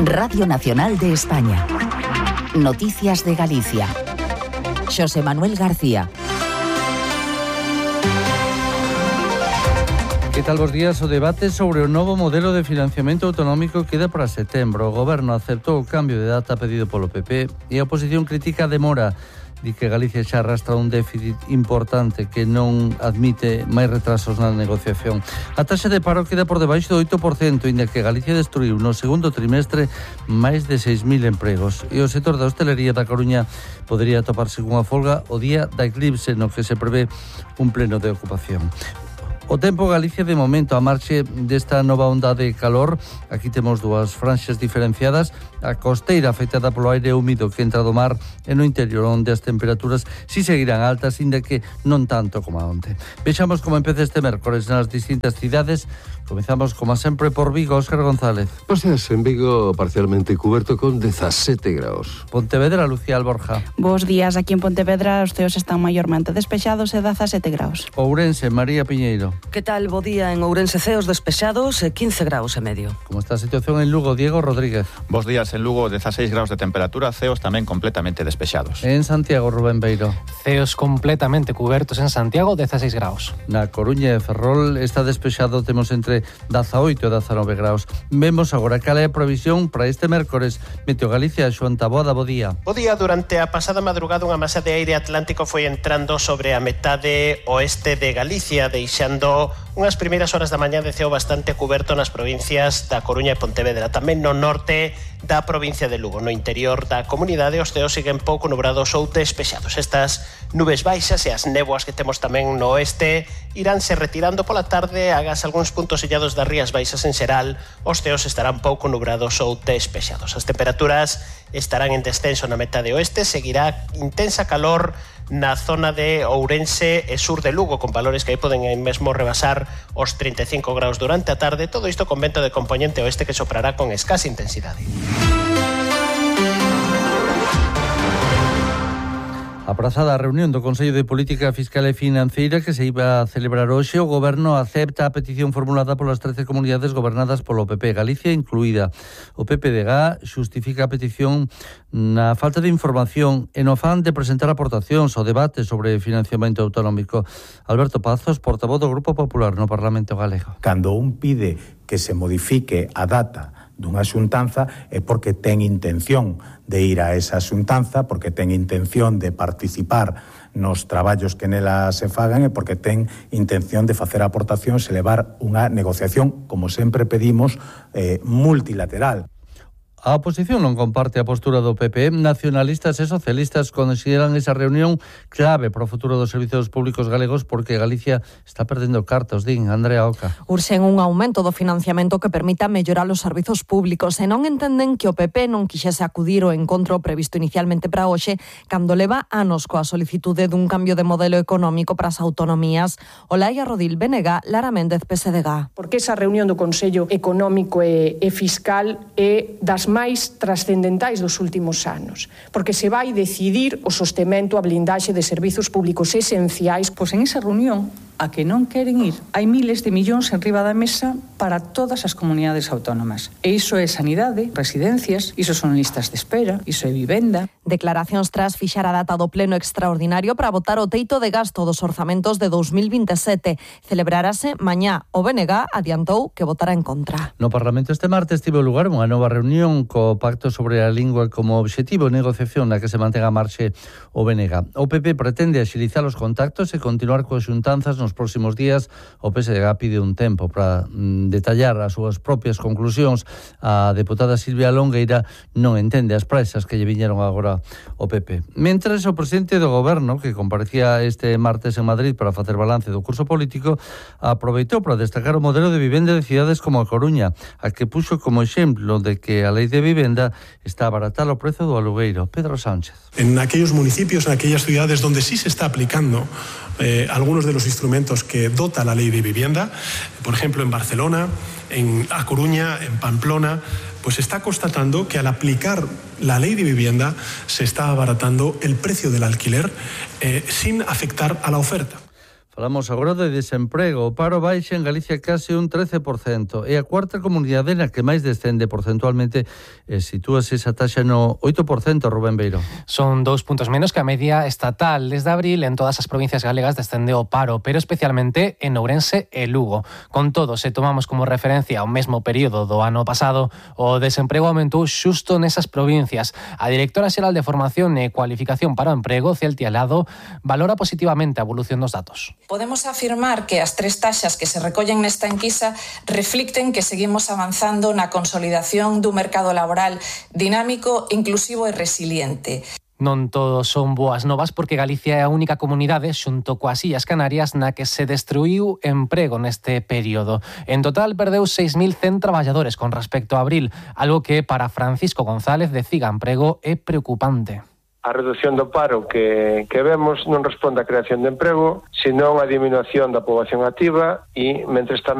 Radio Nacional de España. Noticias de Galicia. Xosé Manuel García. Que tal, bos días? O debate sobre o novo modelo de financiamento autonómico queda para setembro. O Goberno aceptou o cambio de data pedido polo PP e a oposición critica a demora. Di que Galicia xa arrastra un déficit importante que non admite máis retrasos na negociación. A taxa de paro queda por debaixo do 8%, inda que Galicia destruiu no segundo trimestre máis de 6.000 empregos. E o sector da hostelería da Coruña podería toparse cunha folga o día da eclipse, no que se prevé un pleno de ocupación. O tempo Galicia de momento a marxe desta nova onda de calor. Aquí temos dúas franxas diferenciadas. A costeira afectada polo aire húmido que entra do mar e no interior onde as temperaturas si seguirán altas, inda que non tanto como onte. Vexamos como empeza este mércores nas distintas cidades. Comezamos, como sempre, por Vigo. Óscar González. Ostras, en Vigo parcialmente cuberto con 17 graus. Pontevedra, Lucía Alborja. Bos días, aquí en Pontevedra os ceos están maiormente despexados e 17 graus. Ourense, María Piñeiro. Que tal, bo día? En Ourense ceos despexados e 15 graus e medio. Como está a situación en Lugo, Diego Rodríguez? Bos días, en Lugo 16 graus de temperatura, ceos tamén completamente despexados. En Santiago, Rubén Beiro. Ceos completamente cubertos en Santiago, 16 graus. Na Coruña e Ferrol está despexado, temos entre 18 e 19 graus. Vemos agora cal é a previsión para este mércores. Meteo Galicia, Xoan Taboada, bo día. Bo día, durante a pasada madrugada unha masa de aire atlántico foi entrando sobre a metade oeste de Galicia, deixando unhas primeiras horas da mañá de ceo bastante cuberto nas provincias da Coruña e Pontevedra, tamén no norte da provincia de Lugo. No interior da comunidade os ceos siguen pouco nubrados ou despexados. Estas nubes baixas e as néboas que temos tamén no oeste iránse retirando pola tarde. Agás algúns puntos illados das rías baixas en xeral, os ceos estarán pouco nubrados ou despexados. As temperaturas estarán en descenso na metade oeste, seguirá intensa calor na zona de Ourense e sur de Lugo, con valores que aí poden mesmo rebasar os 35 graus durante a tarde. Todo isto con vento de componente oeste que soprará con escasa intensidade. Aprazada a reunión do Consello de Política Fiscal e Financeira que se iba a celebrar hoxe, o Goberno acepta a petición formulada polas 13 comunidades gobernadas polo PP, Galicia incluída. O PPDG xustifica a petición na falta de información e no afán de presentar aportacións ao debate sobre financiamento autonómico. Alberto Pazos, portavoz do Grupo Popular no Parlamento Galego. Cando un pide que se modifique a data dunha xuntanza é porque ten intención de ir a esa xuntanza, porque ten intención de participar nos traballos que nela se fagan e porque ten intención de facer aportacións e levar unha negociación, como sempre pedimos, multilateral. A oposición non comparte a postura do PP. Nacionalistas e socialistas consideran esa reunión clave para o futuro dos servizos públicos galegos porque Galicia está perdendo cartos, din Andrea Oca. Urxen un aumento do financiamento que permita mellorar os servizos públicos e non entenden que o PP non quixese acudir ao encontro previsto inicialmente para hoxe cando leva anos coa solicitude dun cambio de modelo económico para as autonomías. Olaia Rodil, BNG, Lara Méndez, PSDG. Porque esa reunión do Consello Económico e Fiscal é das máis trascendentais dos últimos anos, porque se vai decidir o sostemento, a blindaxe de servizos públicos esenciais. Pois en esa reunión a que non queren ir. Hai miles de millóns en riba da mesa para todas as comunidades autónomas. E iso é sanidade, residencias, iso son listas de espera, iso é vivenda. Declaracións tras fixar a data do pleno extraordinario para votar o teito de gasto dos orzamentos de 2027. Celebrarase mañá. O BNG adiantou que votará en contra. No Parlamento este martes tivo lugar unha nova reunión co Pacto sobre a Lingua como obxectivo de negociación na que se mantén a marxe o BNG. O PP pretende axilizar os contactos e continuar coas xuntanzas nos próximos días. O PSDG pide un tempo para detallar as súas propias conclusións. A deputada Silvia Longueira non entende as presas que lle viñeron agora o PP. Mentres, o presidente do Goberno, que comparecía este martes en Madrid para facer balance do curso político, aproveitou para destacar o modelo de vivenda de cidades como a Coruña, a que puxo como exemplo de que a lei de vivenda está a abaratar o prezo do alugueiro. Pedro Sánchez. En aquellos municipios, en aquellas ciudades donde sí se está aplicando algunos de los instrumentos que dota la ley de vivienda, por ejemplo en Barcelona, en A Coruña, en Pamplona, pues se está constatando que al aplicar la ley de vivienda se está abaratando el precio del alquiler sin afectar a la oferta. Falamos agora de desemprego. O paro baixa en Galicia case un 13%. É a cuarta comunidade na que máis descende porcentualmente. Sitúase esa taxa no 8%, Rubén Beiro. Son 2 puntos menos que a media estatal. Desde abril, en todas as provincias galegas descende o paro, pero especialmente en Ourense e Lugo. Con todo, se tomamos como referencia o mesmo período do ano pasado, o desemprego aumentou xusto nesas provincias. A directora xeral de Formación e Cualificación para o Emprego, Celtia Lado, valora positivamente a evolución dos datos. Podemos afirmar que as 3 taxas que se recollen nesta enquisa reflicten que seguimos avanzando na consolidación dun mercado laboral dinámico, inclusivo e resiliente. Non todos son boas novas porque Galicia é a única comunidade xunto coas Illas Canarias na que se destruiu emprego neste período. En total perdeu 6.100 traballadores con respecto a abril, algo que para Francisco González de Ciga Emprego é preocupante. A reducción do paro que vemos non responde á creación de emprego, senón á diminución da poboación activa e, mentres tamén